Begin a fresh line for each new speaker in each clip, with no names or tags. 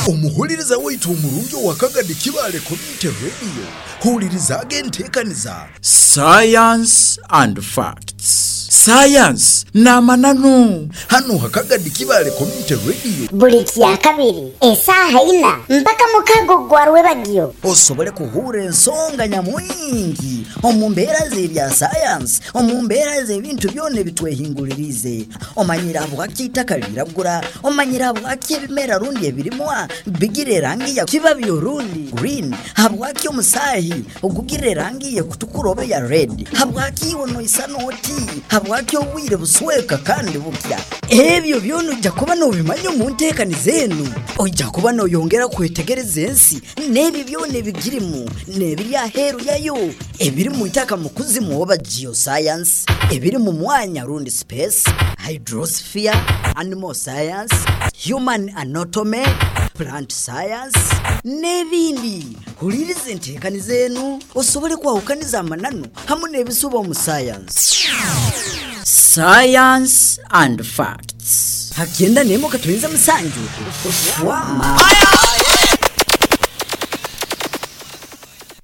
Omuhuririza waitu omurungi owa Kagadi Kibaale Community Radio, huuririzaaga enteekaniza.
Science and Facts. Sayansi n'amananu.
Hanu ha Kagadi Kibaale Community Radio.
Buli Kyakabiri esaaha ina mpaka mukaaga ogwa rwebagyo.
Osobole kuhuurra ensonga nyamwingi omu mbeera z'ebya sayansi, omu mbeera z'ebintu byona ebitwehinguliriize. Omanyire habwaki eitaka liragura? Omanyire habwaki ebimera rundi ebirimwa bigira erangi ya kibabi orundi green? Habwaki omusaahi ogugira erangi y'ekutukura oba eya red? Habwaki iwe noisana oti? Habwaki obwire busweka kandi bukya? Ebyo byona oija kuba nobimanya omu nteekaniza enu. Oija kuba noyongera kwetegereza ensi n'ebyo byona ebigirimu n'ebiri aheeru yayo, ebiri mu itaka mu kuzimu oba geoscience, ebiri mu mwanya rundi space, hydrosphere, animal science, human anatomy, plant science, n'ebindi. Huliiriza enteekaniza enu osobole kwahukaniza amananu hamu n'ebisuba omu sayansi.
Science and Facts.
Ha kyenda n'emwe katonyeza musanju Fwama.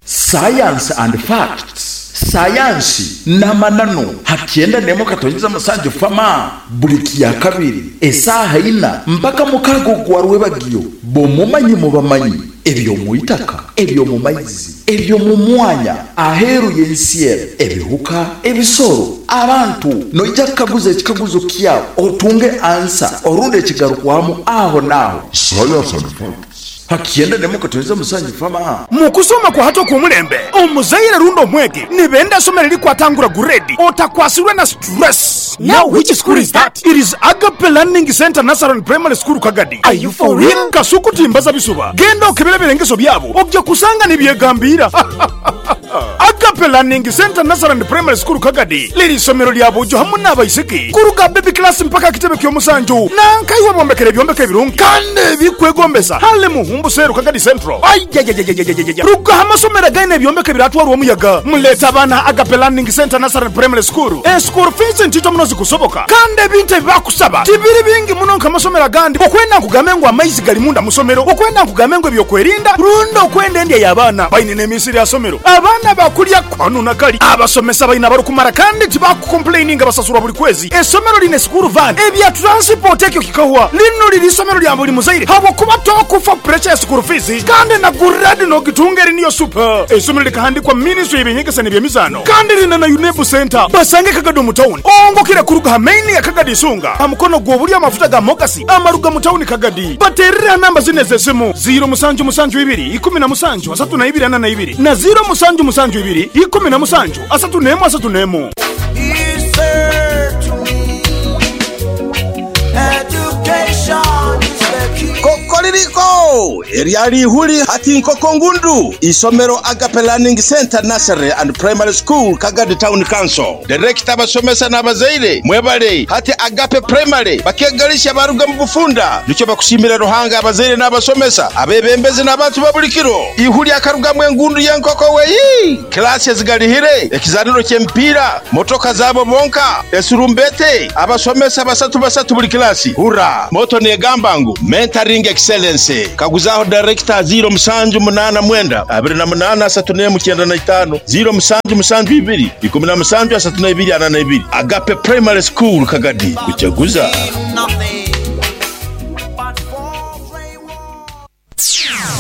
Science and Facts, Sayansi n'amananu, ha kyenda n'emwe katonyeza musanju Fama, buli Kyakabiri esaaha ina mpaka mukaaga ogwa rwebagyo. B'omumanyi mubamanyi eby'omu itaka, eby'omu maizi, eby'omu mwanya, aheeru y'ensi enu, ebihuka, ebisoro, abantu. Noija kukaguza ekikaguzo kyawe otunge ansa orundi ekigarukwamu aho n'aho.
Science and Facts.
Ha kyenda n'emwe katonyeza musanju Fama.
Mu kusoma kwa hati okw'omulembe, omuzaire rundi omwegi nibenda eisomero erikwatangura guredi otakwasirwe na stress.
Now which school is that?
It is Agape Learning Centre Nursery and Primary School Kagadi.
Are you for real?
Kasuku timbaza bisuba, genda okebere ebirengeso byabo oja kusanga nibyegambiira. Agape Learning Centre Nursery and Primary School Kagadi liri isomero lya boojo hamu n'abaisiki kuruga baby class mpaka kitebe ky'omusanju. Nanka iwe bombekere ebyombeko ebirungi kandi ebikwegombesa hale Muhumbu Seeru Kagadi Central. Ayayayayayayaya ruga aha masomero againe ebyombeko ebiratwarwa omuyaga muleete abaana aha Agape Learning Centre Nursery and Primary School. Eschool fees ntito muno zikusoboka kandi ebintu ebibakusaba tibiri bingi muno nk'amasomero agandi okwenda nkugambe ngu amaizi gali munda musomero, okwenda nkugambe ngu ebyokwerinda rundi okwenda endya y'abaana. Baine n'emisiri aha somero abaana bakulya kanu na kali. Abasomesa baine abarikumara kandi tibakukompuleininga basasurwa buri kwezi. Esomero liine school van, ebya transport ekyo kikahwa. Linu liri isomero lya buri muzaire habwokuba tokufa puresha ya school fees kandi na guredi nogitunga eri niyo super. Eisomero likahandikwa ministry y'eby'enyegesa n'eby'emizaano kandi liine na UNEB centre. Basange Kagadi omu town ongokire kuruga aha main ya Kagadi Isunga aha mukono gw'oburyo amafuta ga Mogasi amaruga mu town Kagadi. Bateerere aha namba zinu ez'esimu, ziiro musanju musanju ibiri, ikumi na musanju, asatu na ibiri ana na ibiri na ziiro musanju musanju ibiri, ikumi na musanju, asatu n'emu asatu n'emu.
Kokoririko! Eryali ihuli hati nkoko ngundu! Isomero Agape Learning Centre Nursery and Primary School, Kagadi Town Council. Direkita, abasomesa n'abazaire mwebale. Hati Agape Primary bakegalisha baruga mu bufunda. Nikyo bakusiimira Ruhanga abazaire n'abasomesa, abebembezi n'abantu ba buli kiro. Ihuli akarugamu engundu y'enkoko weii! Kilaasi ezigalihire, ekizaaniro ky'emipiira, motoka zaabo bonka, esurumbete, abasomesa basatu basatu buli kilaasi. Hurra! Motto neegamba ngu Mentoring Excellence. Kaguzaaho dayirekita 0789 28 31 95, 0772 17 32 42. Agape Primary School Kagadi, kujaguza.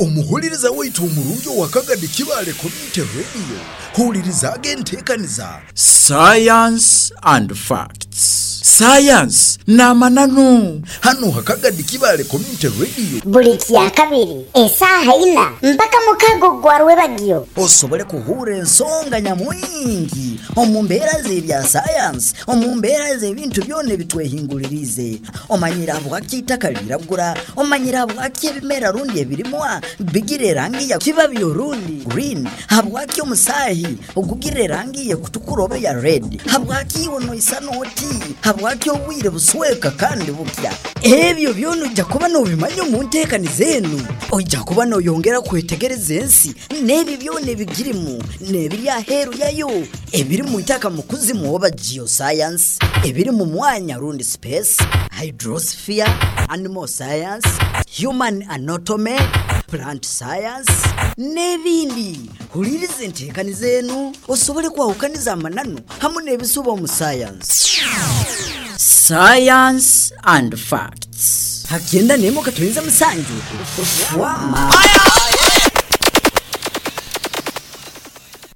Omuhuririza waitu omurungi owa Kagadi Kibaale Community Radio, huuririzaaga enteekaniza.
Science and Facts. Sayansi n'amananu.
Hanu ha Kagadi Kibaale Community Radio.
Buli Kyakabiri esaaha ina mpaka mukaaga ogwa rwebagyo.
Osobole kuhuurra ensonga nyamwingi omu mbeera z'ebya sayansi, omu mbeera z'ebintu byona ebitwehinguliriize. Omanyire habwaki eitaka liragura? Omanyire habwaki ebimera rundi ebirimwa bigira erangi ya kibabi orundi green? Habwaki omusaahi ogugira erangi y'ekutukura oba eya red? Habwaki iwe noisana oti? Habwaki obwire busweka kandi bukya? Ebyo byona oija kuba nobimanya omu nteekaniza enu. Oija kuba noyongera kwetegereza ensi n'ebyo byona ebigirimu n'ebiri aheeru yayo. Ebiri mu itaka mu kuzimu oba geoscience, ebiri mu mwanya rundi space, hydrosphere, animal science, human anatomy, plant science, n'ebindi. Huliriza enteekaniza enu osobole kwahukaniza amananu hamu n'ebisuba omu sayansi.
Science and Facts.
Ha 91 katonyeza musanju Fwama.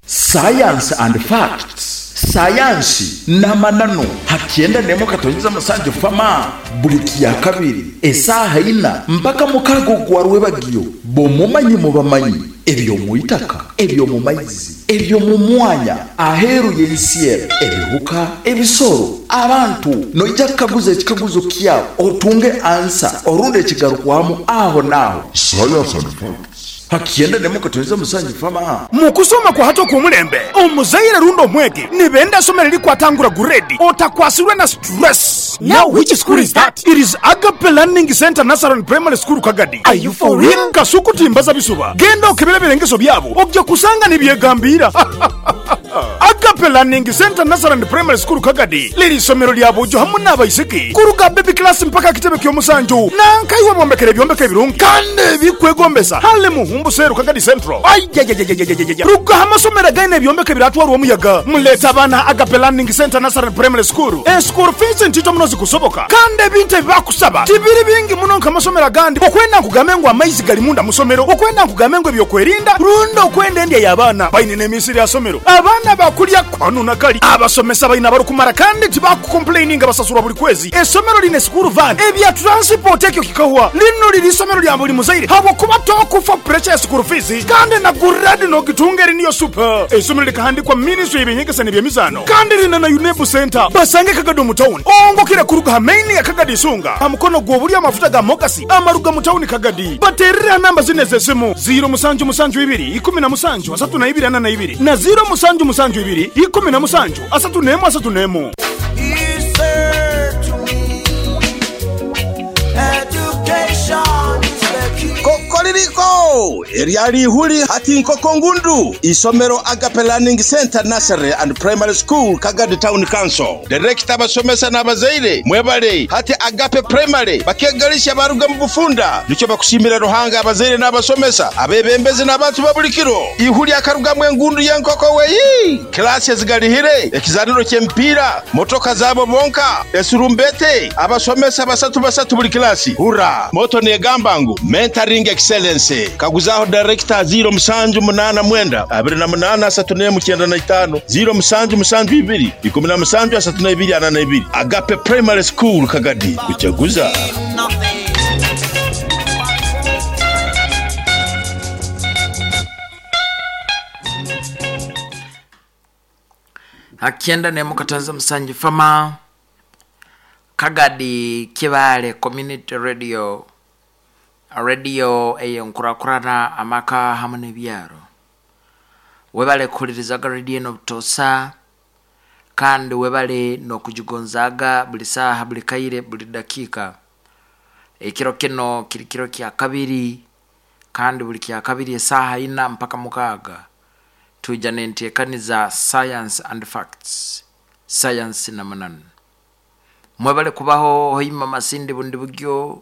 Science and Facts. Sayansi n'amananu ha 91 katonyeza musanju fama buli kyakabiri esaaha ina mpaka mukago gwa rwebagyo bomumanyi mubamanyi eby'omu itaka, eby'omu maizi, eby'omu mwanya, aheeru y'ensi eno, ebihuka, ebisoro, abantu. Noija kukaguza ekikaguzo kyawe otunge ansa orundi ekigarukwamu aho n'aho.
Science and Facts.
Ha 91.7 Fama.
Mu kusoma kwa hati okw'omulembe, omuzaire rundi omwegi nibenda isomero erikwatangura guredi otakwasirwe na stress. Now which school is that? It is Agape Learning Centre Nursery and Primary School Kagadi. Are you for real? Kasuku timbaza bisuba. Genda okebere ebirengeso byabo oja kusanga nibyegambiira. Agape Learning Centre Nursery and Primary School Kagadi liri isomero lya bojo hamu n'abaisiki kuruga baby class mpaka akitebe ky'omusanju. Nankaiwe bombekere ebyombeko ebirungi kandi ebikwegombesa hale Muhumbu Seru Kagadi Central. Aiaiaiaiaiaiai ruga aha masomero againe ebyombeko ebiratwarwa omuyaga muleete abaana aha Agape Learning Centre Nursery and Primary School. Eschool fees ntito muno zikusoboka kandi ebintu ebibakusaba tibiri bingi muno nk'amasomero agandi okwenda nkugambe ngu amaizi gali munda musomero, okwenda nkugambe ngu ebyokwerinda rundi okwenda endya y'abaana. Baine n'emisiri aha somero abaana bakulya kanu na kali. Abasomesa baine abarikumara kandi tibakukompuleininga basasurwa buri kwezi. Esomero liine school van, ebya transport ekyo kikahwa. Linu liri isomero lya buri muzaire habwokuba tokufa puresha ya school fees kandi na guredi nogitunga eri niyo super. Eisomero likahandikwa ministry y'ebyenyegesa n'ebyemizaano kandi liine na UNEB centre. Basange Kagadi omu tawuni ongokire kuruga aha main ya Kagadi Isunga aha mukono gw'oburyo amafuta ga Mogasi amaruga mu tawuni Kagadi. Bateerere aha namba zinu ez'esimu, ziiro musanju musanju ibiri, ikumi na musanju, asatu na ibiri ana na ibiri na ziiro musanju musanju ibiri, ikumi na musanju, asatu n'emu asatu n'emu.
Kokoririko! Eryali ihuli hati nkoko ngundu. Isomero Agape Learning Centre Nursery and Primary School Kagadi Town Council. Direkita, abasomesa n'abazaire mwebale. Hati Agape Primary bakegalisha baruga mu bufunda. Nikyo bakusiimira Ruhanga abazaire n'abasomesa, abebembezi n'abantu ba buli kiro. Ihuli akarugamu engundu y'enkoko weyi! Kilaasi ezigarihire, ekizaniro ky'emipiira, motoka zaabo bonka, esurumbete, abasomesa basatu basatu buli kilaasi. Hurra! Moto neegamba ngu Mentoring Excellence. Kaguzaho dayirekita 0789 28 31 95, 0772 17 32 42. Agape Primary School Kagadi, kujaguza.
Akyenda nemu katanza musanju fama Kagadi Kibaale Community Radio Radio eyenkurakurana amaka hamu nebyaro. Webale kuhulirizaga radio eno butoosa kandi webale nokugigonzaaga buli saaha buli kaire buli dakiika. Ekiro kino kiri kiro kyakabiri Kandi buli kyakabiri esaaha ina mpaka mukaaga, twija n'enteekaniza Science and Facts, Sayansi n'Amananu. Mwebale kubaho Hoima Masindi Bundibugyo,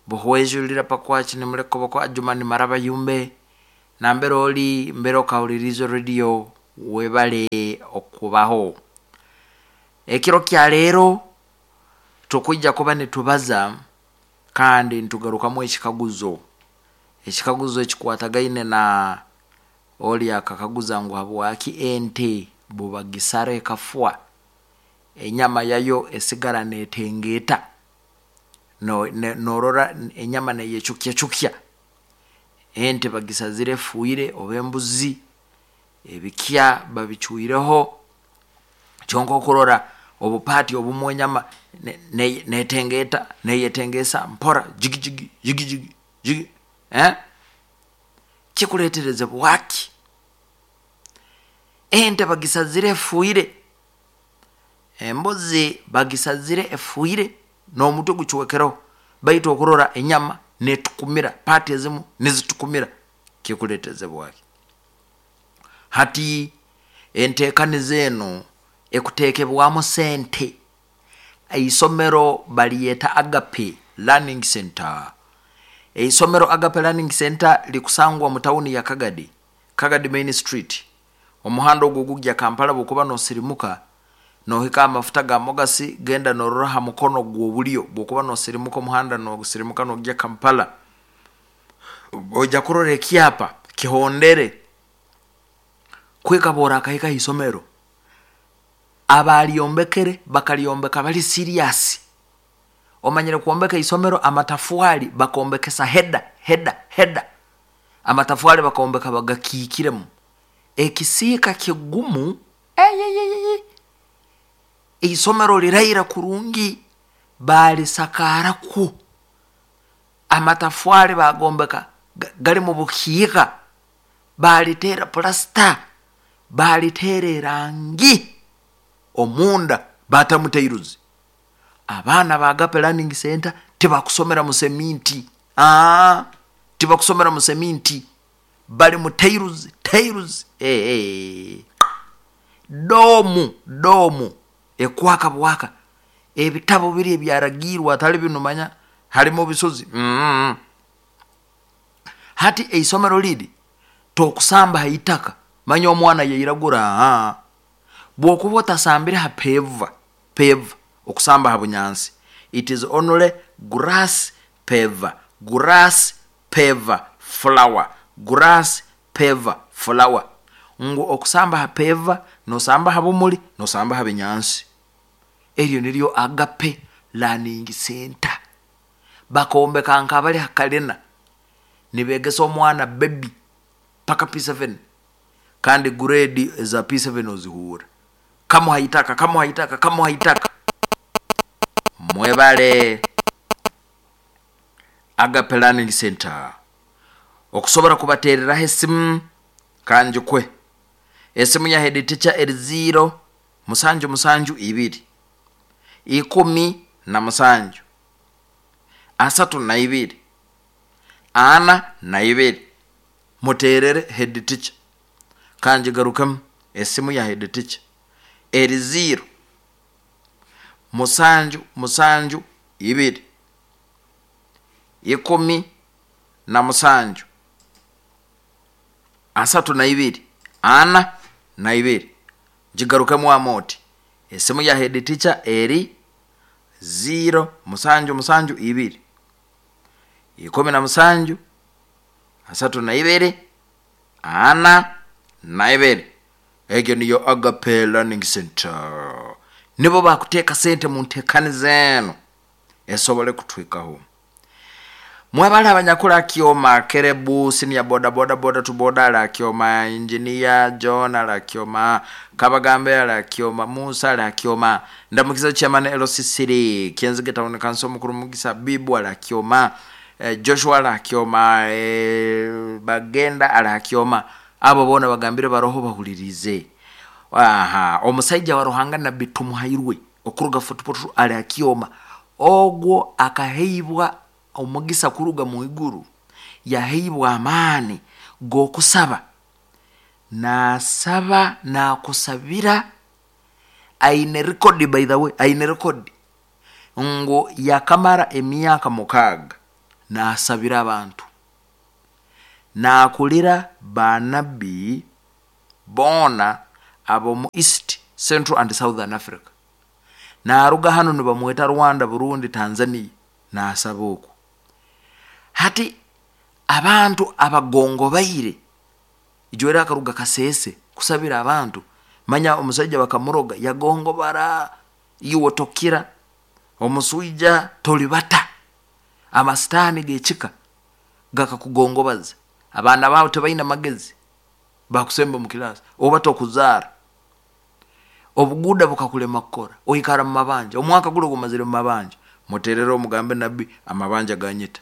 Buhwejulira Pakwaki Nimulekoboko Adjumani Maraba Yumbe, nambere oli mbere okahuliriize radio, webale okubaho. Ekiro kya leero tukwija kuba nitubaza Kandi nitugarukamu ekikaguzo, ekikaguzo ekikwatagaine na oli akakaguza ngu habwaki ente bubagisara ekafwa, enyama yayo esigara netengeeta, norora enyama neyecukyacukya. Ente bagisazire efuire oba embuzi, ebikya babicwireho, Kyonka okurora obupaati obumu enyama netengeeta, neyetengeesa mpora jigi jigi jigi jigi jigi eh? Kikuleetereze bwaki? Ente bagisazire efuire, embuzi bagisazire efuire n'omutwe gucwekereho, baitu okurora enyama netukumira, paati ezimu nizitukumira, kikuleeteze bwaki? Hati. Enteekaniza enu ekuteekebwamu sente. Eisomero balyeta Agape Learning Center. Eisomero Agape Learning Center likusangwa mu tawuni ya Kagadi, Kagadi Main Street. Omuhanda ogu ogugya Kampala bwokuba nosirimuka nohika aha mafuta ga Mogasi genda norora aha mukono gw'obulyo bwokuba nosirimuka omuhanda nosirimuka nogya Kampala oija kurora ekyapa kihondere kuhika bworakahika aha isomero. Abalyombekere bakalyombeka bali serious. Omanyire kwombeka eisomero amatafwali bakombekesa heda heda heda. Amatafwali bakombeka bagakiikiremu. Ekisiika kigumu eyeyeyeye. Eisomero liraira kurungi baalisakaarakwo. Amatafwali bagombeka gari mu bukiika, baaliteera pulasita, baaliteera erangi omunda baatamu tairuzi. Abaana ba Agape Learning Centre tibakusomera mu seminti, aa tibakusomera mu seminti, bari mu tairuzi, tairuzi eeh, doomu, doomu ekwaka bwaka, ebitabo biri ebyaragiirwe atari binu manya harimu bisozi mm. Hati eisomero riri tokusamba ha itaka manya omwana yairagura aa bwokuba otasambire ha peva, peva okusamba ha bunyansi it is only grass peva, grass peva flower, grass peva flower ngu okusamba ha peva nosamba ha bumuri nosamba ha binyansi. Eryo niryo Agape Learning Centre. Bakombeka nk'abari ha kalina nibegesa omwana baby paka P7 kandi grade eza P7 ozihuura. Kamuha itaka, kamuha itaka, kamuha itaka. Mwebale Agape Learning Centre. Okusobora kubateereraho esimu kangikwe. Esimu ya head teacher eri ziiro musanju musanju ibiri, 17, 32, 42. Muteerere head teacher. Kangigarukemu, esimu ya head teacher eri ziiro musanju musanju ibiri, 17, 32, 42. Gigarukemu wamu oti, Esimu ya head teacher eri ziiro musanju musanju ibiri, 17, 32, 42. Egyo niyo Agape Learning Centre. Nibo bakuteeka sente mu nteekaniza enu esobole kutuhikaho. Mwebale abanyakuli Akioma, Kerebu, senior boda boda boda to boda ali Akioma, engineer John ali Akioma, Kabagambe ali Akioma, Musa ali Akioma, Ndamukiza chairman LC3, Kyenzige town council mukuru Mugisa Bibu ali Akioma, Joshua ali Akioma, Bagenda ali Akioma. Abo boona bagambire baroho bahuliriize. Aha, omusaija wa Ruhanga Nabbi Tumuhairwe okuruga Fort Portal ali Akioma. Ogwo akaheibwa omugisa kuruga mu iguru, yaheibwa amaani g'okusaba. Naasaba naakusabira, aine rekodi by the way, aine rekodi ngu yakamara emyaka mukaaga naasabira abantu. Naakurira baanabbi boona ab'omu East, Central and Southern Africa. Naaruga hanu nibamweta Rwanda, Burundi, Tanzania naasaba okwo. Hati abantu abagongobaire, ijweri akaruga Kasese kusabira abantu, manya omusaija bakamuroga yagongobara, iwe tokira, omuswija toribata, amasitaani g'ekika gakakugongobaza, abaana baawe tibaine magezi, bakusemba omu kilaasi, oba tokuzaara. Obuguuda bukakulema kukora, oikara mu mabanja, omwaka guri ogumazire mu mabanja, muteerere omugambe nabbi amabanja ganyita.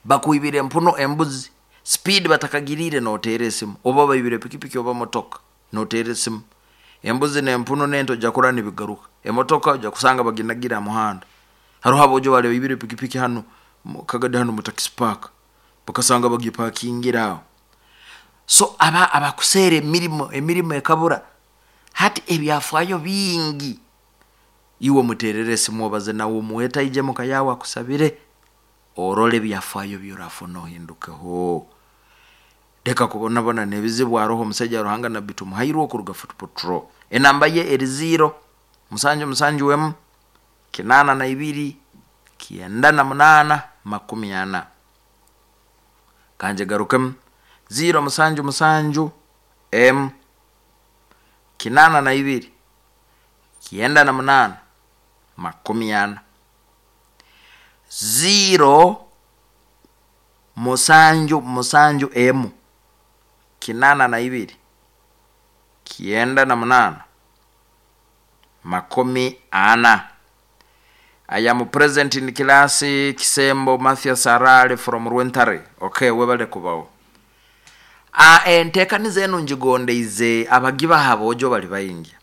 Bakwibire empuno, embuzi, speed batakagiriire noteera esimu, oba baibire pikipiki oba motoka noteera esimu. Embuzi n'empunu n'ente oja kurora nibigaruka, emotoka oja kusanga baginagire aha muhanda. Haroho aboojo baali baibire pikipiki hanu Kagadi hanu mu taxi park, bakasanga bagipakingire aho. So aba abakuseera emirimo, emirimo ekabura. Hati ebyafaayo bingi. Iwe omuteerere esimu obaze nawe omwete aije muka yaawe akusabire, orole ebyafaayo bi orafuna ohindukeho. Leka kubonabona n'ebizibu aroho omusaija wa Ruhanga Nabbi Tumuhairwe okuruga Fort Portal. Enamba ye eri ziiro, musanju musanju emu, kinaana na ibiri, 98, 40. Kangigarukemu, ziiro musanju musanju emu, 82, 98, 40. Ziiro musanju musanju emu, 82, 98, 40. I am present in class Kisembo Mathias Arale from Rwentare. Okay, webale kubaho. Ah, entekaniza enu ngigondeize abagibaha aboojo bali baingi.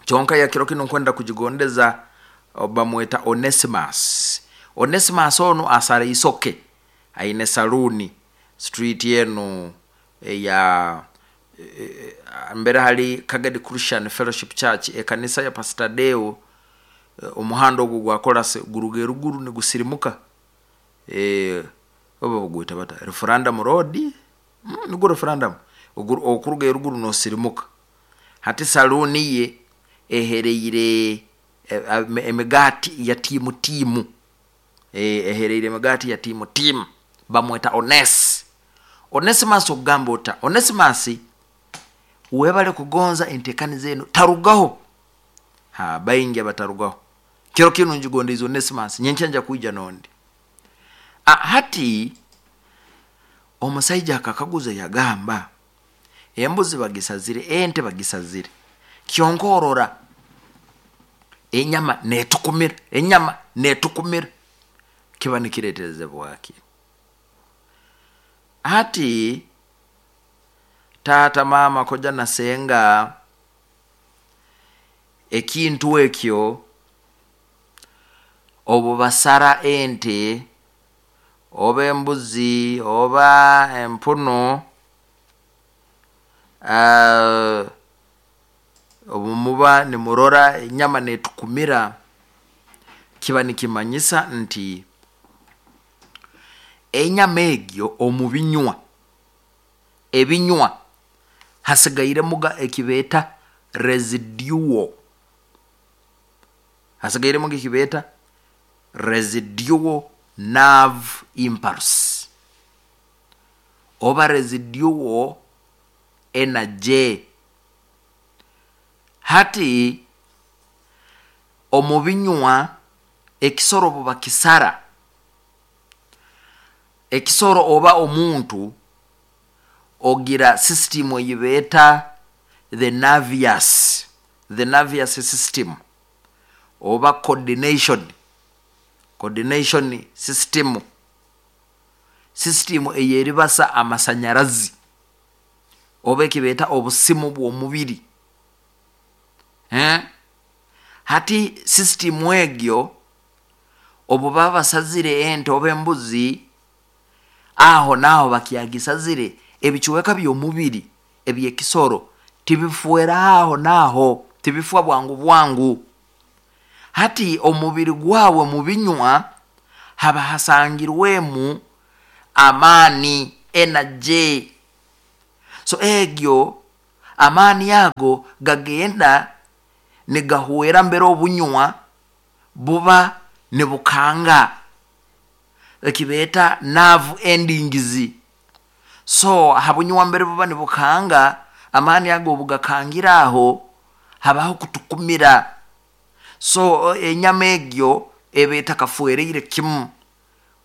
Kyonka ya kiro kinu nkwenda kugigondeza bamweta Onesimus. Onesimus onu asara isoke aine saluuni street enu eya mbere hali Kagadi Christian Fellowship Church ekanisa ya Pastor Deo omuhanda ogu gwa korasi guruga eruguru nigusirimuka oba bagweta bata Referendum Road nigwo Referendum okuruga eruguru nosirimuka hati saluuni ye ehereire emigaati ya tiimu tiimu ehereire emigaati ya tiimu tiimu bamweta Onesi. Onesimus okugamba ota? Onesimus webale kugonza entekaniza enu tarugaho. Ha, baingi abatarugaho. Kiro kinu ngigondeize Onesimus, nyenkya nja kwija n'ondi. Ah, hati omusaija akakaguza yagamba, embuzi bagisazire, ente bagisazire, kyonka orora enyama netukumira, enyama netukumira, kiba nikireterezebwa ki? Hati taata, maama, koja na senga, ekintu ekyo obu basara ente oba embuzi oba empunu, obu muba nimurora enyama netukumira, kiba nikimanyisa nti enyama egyo omu binywa, ebinywa hasigairemuga ekibeeta residual, hasigairemuga ekibeeta residual nerve impulse oba residual energy. Hati omu binywa ekisoro obu bakisara, ekisoro oba omuntu ogira system ei beeta the nervous, the nervous system oba coordination, coordination system, system ey'eribasa amasanyarazi oba eki beeta obusimu bw'omubiri. Hati system egyo obu baba basazire ente oba embuzi, aho naaho bakyagisazire, ebicweka by'omubiri eby'ekisoro tibifwera aho naaho, tibifwa bwangu bwangu. Hati omubiri gwawe mu binywa haba hasangirwemu amaani, energy. So egyo amaani ago gagenda nigahwera mbere obunywa buba nibukanga, eki beeta nerve endings. So ha bunywa mbere buba nibukanga, amaani ago obu gakangira aho, habaho kutukumira. So enyama egyo eba etakafwereire kimu.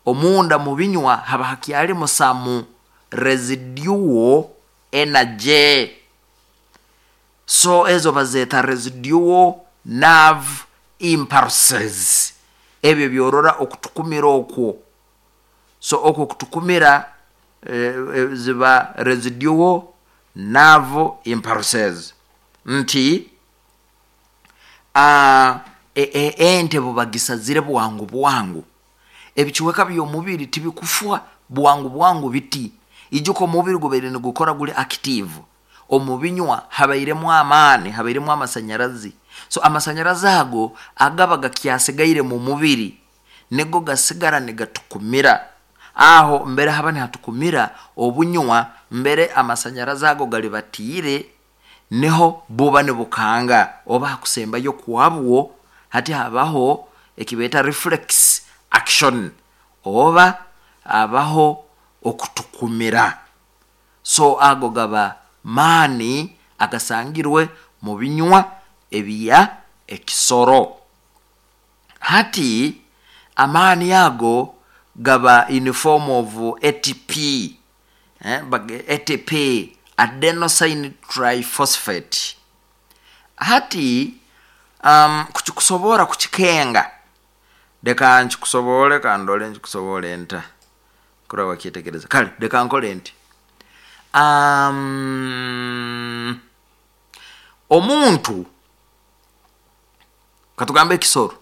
Omunda mu binywa haba hakyarimu some residual energy. So ezo bazeeta residual nerve impulses. Ebyo byorora okutukumira okwo. So okwo kutukumira ziba residual nerve impulses. Nti ente bubagisazire bwangu bwangu, ebicweka by'omubiri tibikufwa bwangu bwangu biti. Ijuka omubiri gubaire nigukora guri active. Omu binywa habairemu amaani, habairemu amasanyarazi. So amasanyarazi ago agaba gakyasigaire mu mubiri nigo gasigara nigatukumira. Aho mbere haba nihatukumira obunywa mbere amasanyarazi ago garibatiire niho buba nibukanga oba hakusembayo kwabwo hati habaho ekibeeta reflex action oba habaho okutukumira. So ago gaba maani agasangirwe mu binywa ebya ekisoro. Hati amaani ago gaba in form of ATP, eh, ATP, adenosine triphosphate. Hati um, kukikusobora kukikenga, leka nkikusobore, kandole nkikusobore nta kuraba wakyetegereza. Kale leka nkole nti um, omuntu katugambe ekisoro,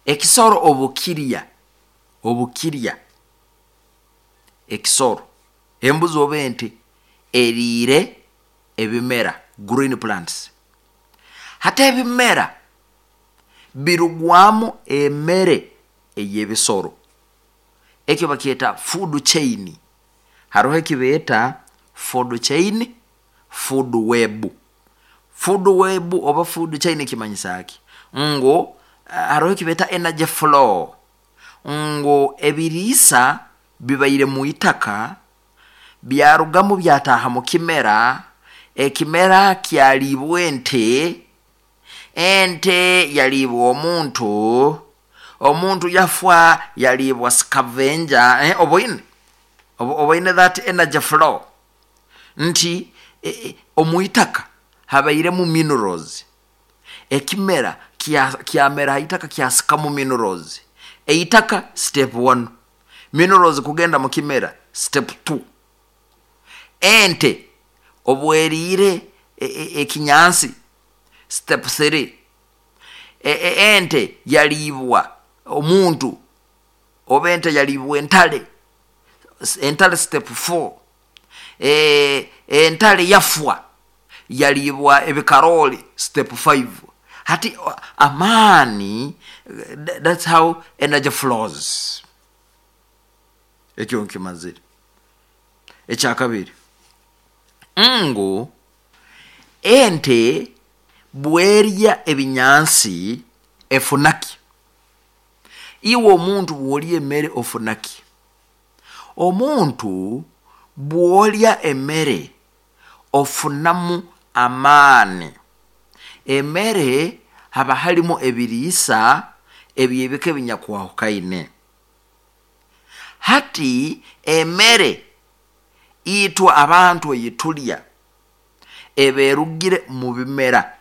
ekisoro obukirya, obukirya ekisoro, embuzi oba ente eriire ebimera, green plants. Hati ebimera birugwamu emere ey'ebisoro, ekyo bakyeta food chain. Haroho ekibeeta food chain, food web. Food web oba food chain kimanyisa ki? Ngu haroho ekibeeta energy flow, ngu ebiriisa bibaire mu itaka byarugamu byataaha mu kimera, ekimera kyaliibwa ente, ente yaliibwa omuntu, omuntu yafwa yaliibwa scavenger. Eh, oboine? Oboine that energy flow? Nti omu itaka habairemu minerals, ekimera kyamera ha itaka kyasikamu minerals. Eitaka step 1, minerals kugenda mu kimera step 2. Ente obweriire ekinyansi step 3. Ente yaliibwa omuntu oba ente yaliibwa entale, entale step 4. Entale yafwa yaliibwa ebikarooli step 5. Hati amaani, that's how energy flows. Ekyo nkimazire. Ekyakabiri, ngu ente bwerya ebinyansi efunaki? Iwe omuntu bw'olya emere ofunaki? Omuntu bw'olya emere ofunamu amaani. Emere haba harimu ebiriisa eby'ebika ebinyakwahukayine. Hati emere itwe abantu eyitulya eba erugire mu bimera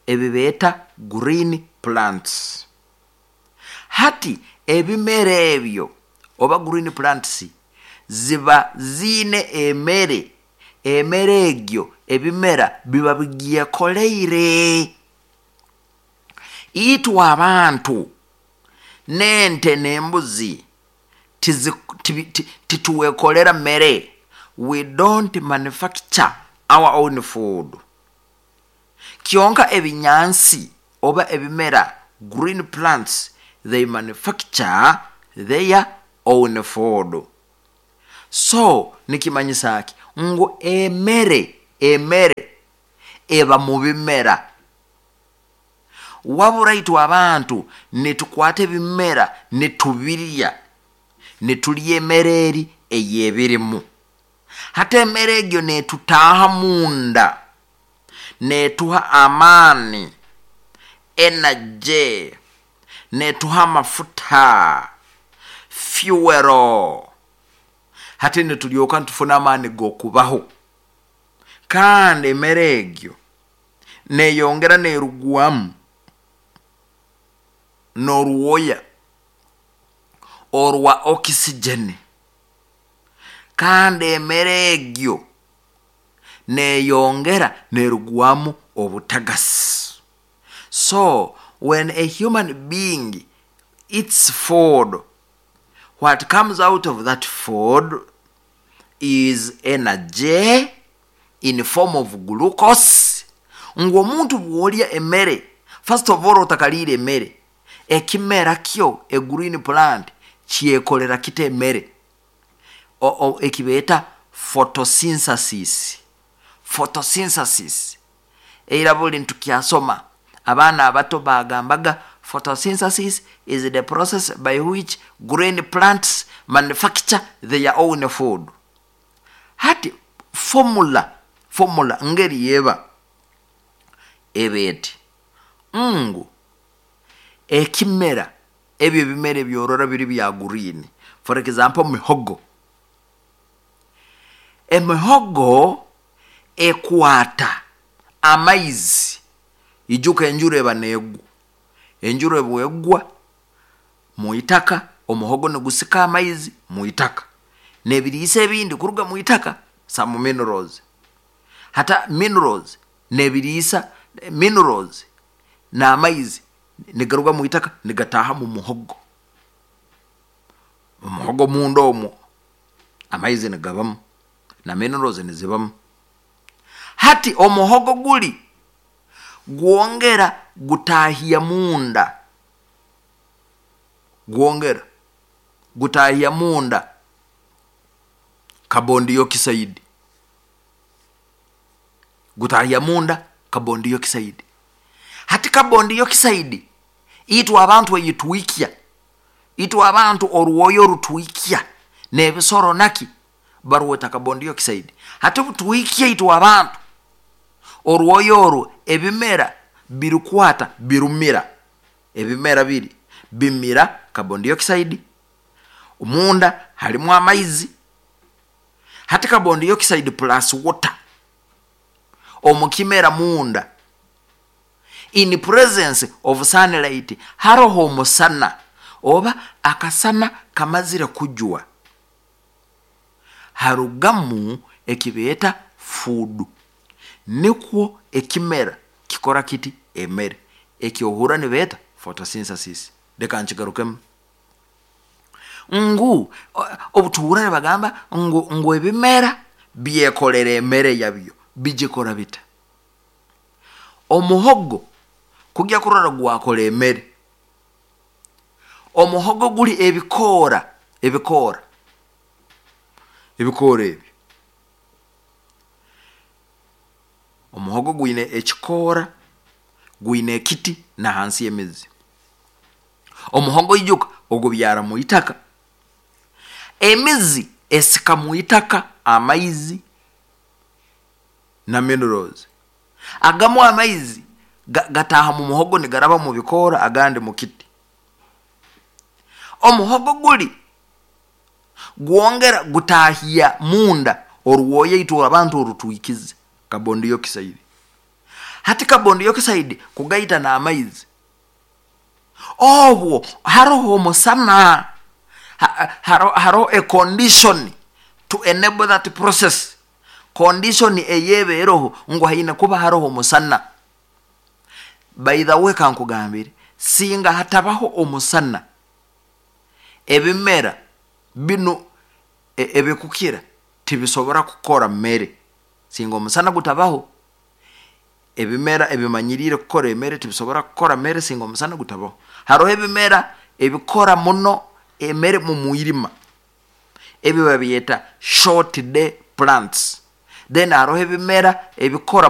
ebibeeta green plants. Hati ebimera ebyo oba green plants ziba ziine emere, emere egyo ebimera biba bigyekoleire. Itwe abantu n'ente n'embuzi tituwekolera mere, we don't manufacture our own food. Kyonka ebinyansi oba ebimera, green plants, they manufacture their own food. So nikimanyisa ki? Ngu emere, emere eba mu bimera. Wabura itwe abantu nitukwata ebimera nitubirya, nitulya emere eri ey'ebirimu. Hati emere egyo netutaaha munda, netuha amaani, energy, netuha amafuta, fuel. Hati nitulyoka nitufuna amaani g'okubaho. Kandi emere egyo neyongera nerugwamu n'orwoya orwa oxygen. Kandi emere egyo neyongera nerugwamu obutagasi. So when a human being eats food, What comes out of that food is energy in form of glucose. Ngu omuntu bw'olya emere, first of all otakaliire emere, ekimera kyo, a green plant, kyekolera kita emere? Ekibeeta photosynthesis. Photosynthesis. Eira buli nitukyasoma, abaana abato bagambaga photosynthesis is the process by which green plants manufacture their own food. Hati formula, formula ngeri yeba eba eti ngu ekimera, ebyo ebimera ebyorora biri bya green, for example mihogo, emihogo ekwata amaizi. Ijuka enjura eba negwa, enjura ebwegwa muitaka, omuhogo nigusika amaizi muitaka nebiriisa ebindi kuruga muitaka, some minerals, hata minerals nebiriisa, minerals n'amaizi nigaruga muitaka nigataha mu muhogo. Omuhogo munda omwo amaizi nigabamu na minerals nizibamu. Hati omuhogo guli gwongera gutahya munda, gwongera gutahya munda carbon dioxide, gutahya munda carbon dioxide. Hati carbon dioxide itwe abantu eyitwikya, itwe abantu orwoyo rutwikya n'ebisoro naki barweta carbon dioxide. Hati butwikya itwe abantu orwoyo orwo, ebimera birukwata birumira, ebimera biri bimira carbon dioxide, munda harimu amaizi. Hati carbon dioxide plus water omukimera munda in presence of sunlight, haroho omusana oba akasana kamazire kujwa, harugamu ekibeeta food. Nikwo ekimera kikora kiti emere ekyohura nibeeta photosynthesis. Reka nkigarukemu ngu obutuhura nibagamba ngu ebimera byekolera emere yabyo, bigikora bita? Omuhogo kujya kurora gwakora emere, omuhogo guli ebikoora, ebikoora, ebikoora ebyo, omuhogo gwine ekikoora, gwine ekiti na hansi y'emizi. Omuhogo ijuka ogubyara mu itaka, emizi esika mu itaka amaizi na minerals. Agamu amaizi gataha mu muhogo nigaraba mu bikoora, agandi mu kiti. Omuhogo guli gwongera gutahya munda orwoya itwe abantu orutwikize carbon dioxide. Hati carbon dioxide kugaita n'amaizi, obwo haroho omusana, haroho a condition to enable that process. Condition eyebeeroho ngu haine kuba haroho omusana. By the way, kankugambire, singa hatabaho omusana, ebimera bino ebikukira tibisobora kukora mere. Singa omusana gutabaho, ebimera ebimanyirire kukora emere tibisobora kukora mere singa omusana gutabaho. Haroho ebimera ebikora muno emere mu mwirima, ebyo babyeta short day plants. Then haroho ebimera ebikora